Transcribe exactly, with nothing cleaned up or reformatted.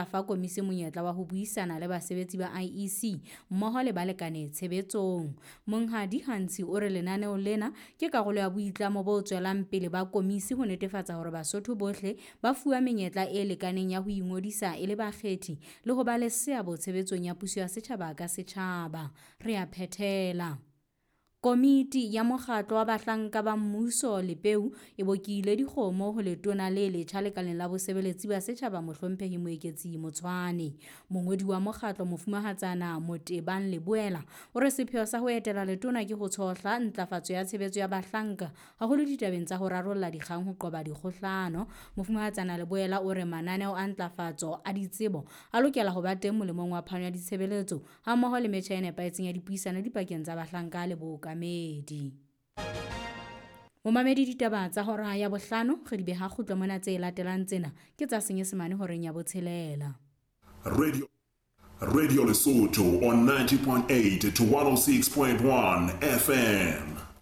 Fa komisi monyetla wa ho buisana le basebetsi ba I E C mmoho le balekane tshebetsong. Monghadi Gantsi o re lenaneo lena ke karolo ya boitlamo bo tswelang pele ba komisi ho netefatsa hore Basotho bohle ba fuwa menyetla e lekaneng ya ho ingodisa e le bakgethi le ho ba le seabo tshebetsong ya puso ya setjhaba ka setjhaba. Re a phethela. Komiti ya mokgatlo wa bahlanka ba mmuso Lepeu e bokile dikgomo ho letona le letjha lekaleng la bosebeletsi ba setjhaba Mohlomphehi Moeketsi Motshwane. Mongodi wa mokgatlo Mofumahatsana Motebang Leboela o re sepheo sa ho etela letona ke ho tshohla ntlafatso ya tshebetso ya bahlanka haholo ditabeng tsa ho rarolla dikgang ho qoba dikgohlano. Mofumahatsana Leboela o re mananeo a ntlafatso a ditsebo a lokela ho ba teng molemong wa phano ya ditshebeletso hammoho le metjha e nepahetseng ya dipuisano dipakeng tsa bahlanka le bookamedi. Momamedi ditaba tsa hora ya bohlano re di beha kgutlo mona, tse latelang tsena ke tsa Senyesemane horeng ya botshelela. Radio, Radio Lesotho on ninety point eight to one oh six point one F M.